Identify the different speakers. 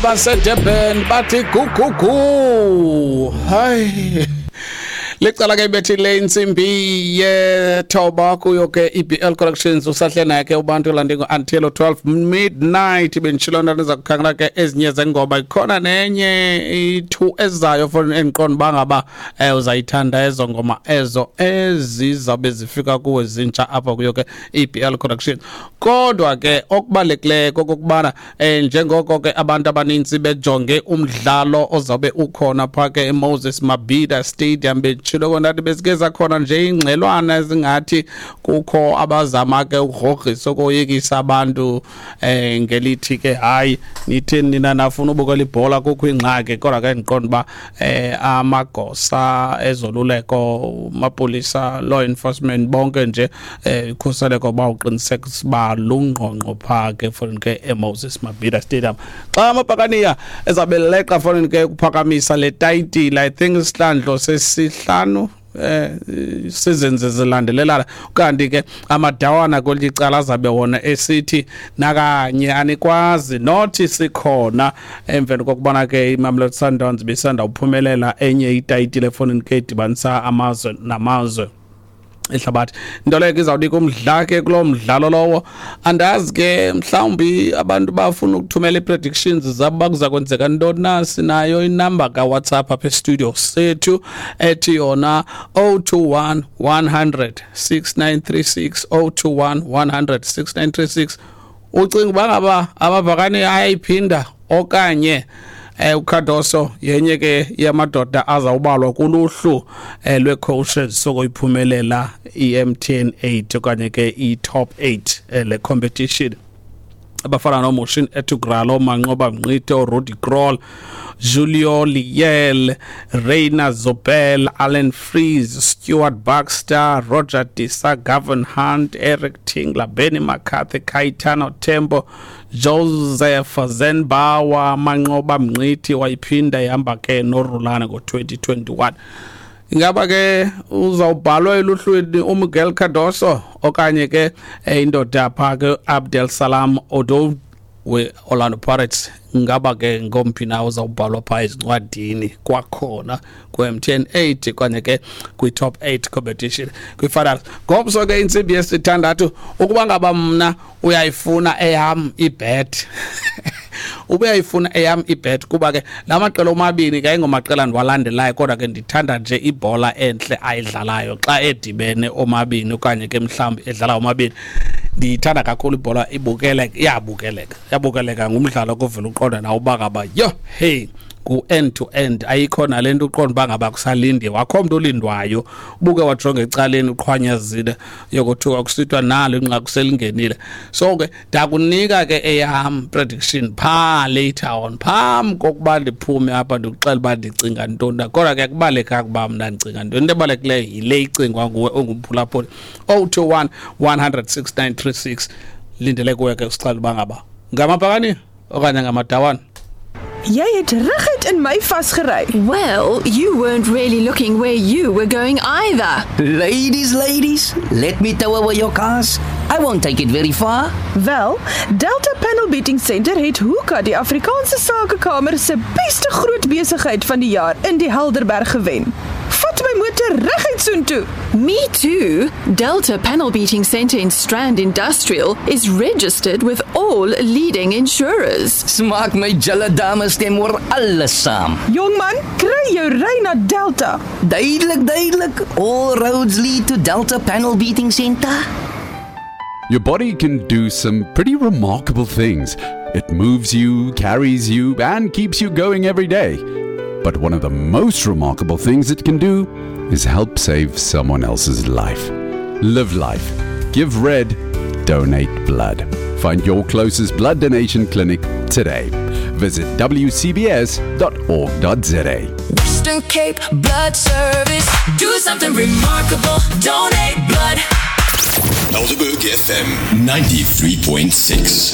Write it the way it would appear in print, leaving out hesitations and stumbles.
Speaker 1: Basedurban bathi gugugu. Hayi, licala ke ibethile intsimbi yethoba kuyo ke iBL Collections. Usahle naye ke ubantu landingo until 12 midnight. Benditshilo nto ndiza kukhangela ke ezinye zengoma, ikhona nenye i-two ezayo for endiqonda uba ngaba uzayithanda ezo ngoma ezo ezizawube zifika kuwe zintsha apha kuyo ke iBL Collections. Kodwa ke okubalulekileyo kokokubana njengoko ke abantu abanintsi bejonge umdlalo ozawube ukhona phaa ke eMoses Mabhida Stadium, benditshilo kondathi besike zakhona nje ingxelwana ezingathi kukho abazama ke ukugrogrisa, ukoyikisa abantu ngelithi ke hayi, nitheni nina nafuna ubukela ibhola kukho ingxaki. Kodwa ke ndiqonda uba amagosa ezoluleko, amapolisa, law enforcement, bonke nje ikhuseleko bawuqinisekisa uba lungqongqo phaa ke fonini ke eMoses Mabhida Stadium xa amabhakaniya ezawube leqa fonini ke ukuphakamisa le tayitile. I think isihlandlo sesihlanu sizenze zilandelelana. Kanti ke amadawana kwelinye icala azabe wona esithi nakanye anikwazi nothi sikhona, emveni kokubana ke iMamelodi Sundowns bisanda uphumelela enye itayitile efowunini ke idibanisa amazwe namazwe ehlabathi. Into leyo ke izawunika umdla ke kuloo mdlalo lowo. Andazi ke, mhlawumbi abantu bafuna ukuthumela ii-predictions zabo bakuza kwenzeka ntoni na. Sinayo inamba kaWhatsApp apha estudio sethu ethi yona 021 100 6936, 021 100 6936. Ucinga uba ngaba amabhakani ayayiphinda okanye uCardoso yenye ke yamadoda azawubalwa kuluhlu lwe-coaches sokoyiphumelela i-MTN 8 okanye ke i-top 8 le competition, abafana noMuhsin Ertugral, oManqoba Mngqithi, oRudi Krol, Julio Liel, Reina Zobel, Alan Freese, Stuart Baxter, Roger Disa, Gavin Hunt, Eric Tingler, Benny McCarthy, Kaitano Tembo, Joseph Zenbawa, Manqoba Mngqithi wayiphinda ihamba ke noRulana ngo-2021. Ingaba ke uzawubhalwa eluhlwini uMiguel Cardoso okanye ke indoda phaa ke Abdel Salam Odoud we-Orlando Pirates? Ngaba ke ngomphi na uzawubhalwa phaa ezincwadini kwakhona kwe-MTN 8 okanye ke kwi-top 8 competition kwi-finals ngomso ke intsimbi yesithandathu? Ukuba ngaba mna uyayifuna eyam ibet, ubuyayifuna eyam ibet, kuba ke la maqela omabini ke ayingomaqela ndiwalandelayo, kodwa ke ndithanda nje ibhola entle ayidlalayo xa edibene omabini okanye ke mhlawumbi edlala omabini. Ndiyithanda kakhulu ibhola, ibukeleka, iyabukeleka, iyabukeleka. Ngumdlalo kovela uqonda nawo uba ngaba yho, hey, ngu-end to end, ayikho nale nto uqonda uba ngaba kusalindiwe, akho mntu olindwayo. Ubuke wajonga ecaleni uqhwanyazile, yokothuka kusithiwa nalo inqaku selingenile. So ke ndakunika ke eyam prediction phaa later on phambi kokuba ndiphume apha, ndikuxela uba ndicinga ntoni na. Kodwa ke kubalulekanga uba mna ndicinga ntoni, into ebalulekileyo yile icingwa nguwe ongumphulaphuli. 021 100 6936. Lindele kuwe ke usixela uba ngaba ngamabhakani okanye ngamadawana.
Speaker 2: Jy het reguit in my vasgery.
Speaker 3: Well, you weren't really looking where you were going either.
Speaker 4: Ladies, ladies, let me tow away your cars. I won't take it very far.
Speaker 2: Wel, Delta Panel Beating Center het Hoeka die Afrikaanse Sakekamer se beste groot besigheid van die jaar in die Helderberg gewen. Vat my motor reguit soontoe.
Speaker 3: Me too. Delta Panel Beating Center in Strand Industrial is registered with all leading insurers.
Speaker 4: Smaak my julle dames stem oor alles saam.
Speaker 2: Jongman, kry jou ry na Delta.
Speaker 4: Duidelik, duidelik. All roads lead to Delta Panel Beating Center.
Speaker 5: Your body can do some pretty remarkable things. It moves you, carries you, and keeps you going every day. But one of the most remarkable things it can do is help save someone else's life. Live life. Give red. Donate blood. Find your closest blood donation clinic today. Visit wcbs.org.za.
Speaker 6: Western Cape Blood Service. Do something remarkable. Donate blood.
Speaker 7: Helderberg FM 93.6.